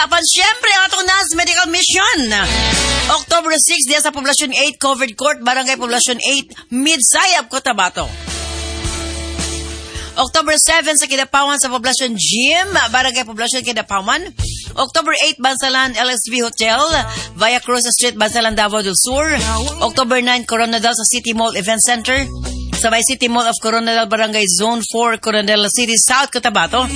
Apan syempre, ang atong NAS Medical Mission. October 6, diya sa Poblacion 8, Covered Court, Barangay Poblacion 8, Midsayap, Cotabato. October 7 sa Kidapawan sa Poblacion Gym, Barangay Poblacion, Kidapawan. October 8, Bansalan LSV Hotel, Via Cruz Street, Bansalan, Davao del Sur. October 9, Koronadal sa City Mall Event Center, sa may City Mall of Koronadal, Barangay Zone 4, Koronadal City, South Cotabato.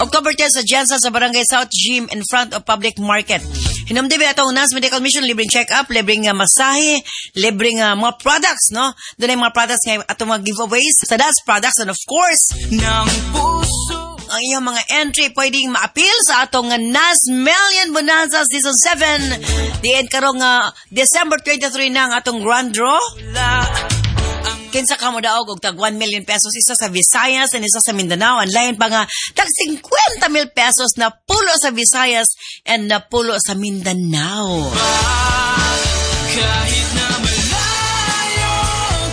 October 10 sa Gensan sa Barangay South Gym in front of Public Market. Hinumdumi atong NAS Medical Mission, libreng check-up, libreng masahe, libreng mga products, no? Doon ay mga products nga atong mga giveaways sa NAS products and of course, ng puso. Ang iyong mga entry pwedeng ma-appeal sa atong NAS Million Bonanza Season 7. Diin karong December 23 na ang atong grand draw. Kinsa ka mo daog og tag 1 million pesos, isa sa Visayas and isa sa Mindanao. Ang lain pa nga tag 50 mil pesos na pulo sa Visayas and na pulo sa Mindanao. Kahit na malayo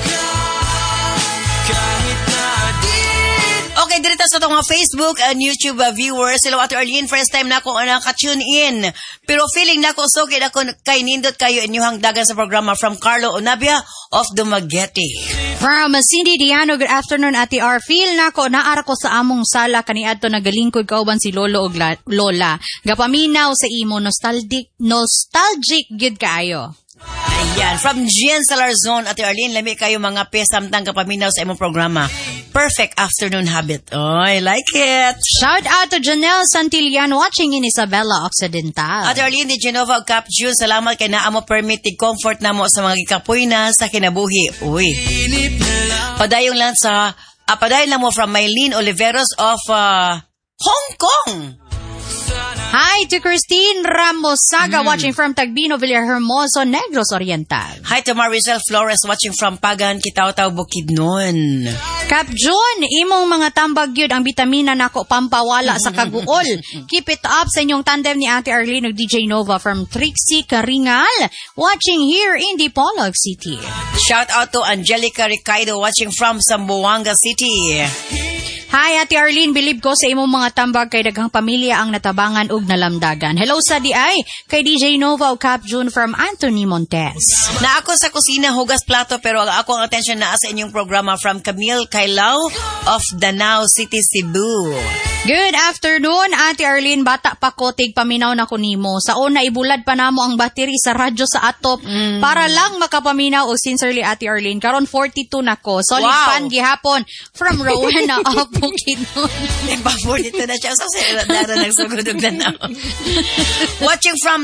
ka, kahit na di Okay, dito sa atong mga Facebook and YouTube viewers. Hello, Ate Arlene. First time na ako naka-tune in. Pero feeling na ako sugid ako kay nindot kayo inyong dagan sa programa, from Carlo Onabia of Dumaguete. From Cindy Diano, good afternoon, Ate R. Feel nako naara ko sa among sala kaniadto nagalingkod kauban si lolo og lola. Gapaminaw sa imo, nostalgic nostalgic gyud kaayo. Ayan, from Gian Salarzon, Ate Arlene, lami kayo mga pesamtang kapaminaw sa imong programa. Perfect afternoon habit. Oh, I like it. Shout out to Janelle Santillan watching in Isabela Occidental. Ate Arlene, di Genova ug Cap June, salamat kay naa mo permit comfort namo sa mga gikapoy na sa kinabuhi. Uy. Padayon lang mo, from Mylene Oliveros of Hong Kong. Hi to Christine Ramosaga watching from Tagbino, Villahermoso, Negros Oriental. Hi to Maricel Flores watching from Pagan, Kitaw-Taw, Bukidnon. Cap June, imong mga tambag gyud ang bitamina nako pampawala sa kaguol. Keep it up sa inyong tandem ni Ate Arlene ug DJ Nova, from Trixie Karingal watching here in Dipolog City. Shout out to Angelica Ricaido watching from Zamboanga City. Hi, Ate Arlene, believe ko sa imong mga tambag kay daghang pamilya ang natabangan ug nalamdagan. Hello sa diay kay DJ Nova ug Cap June, from Anthony Montes. Na ako sa kusina hugas plato pero ang ako ang attention naa sa inyong programa, from Camille Kailao of Danao City, Cebu. Good afternoon, Ate Arlene. Bata pa ko, tig paminaw na ko nimo. Sa una, ibulad pa namo ang battery sa radyo sa atop para lang makapaminaw o sincerely, Ate Arlene. Karon 42 na ko. Solid fan gihapon, from Rowena of Bukidnon. Ipa 42 na siya. Sa dara nagsugod og Danao. Watching from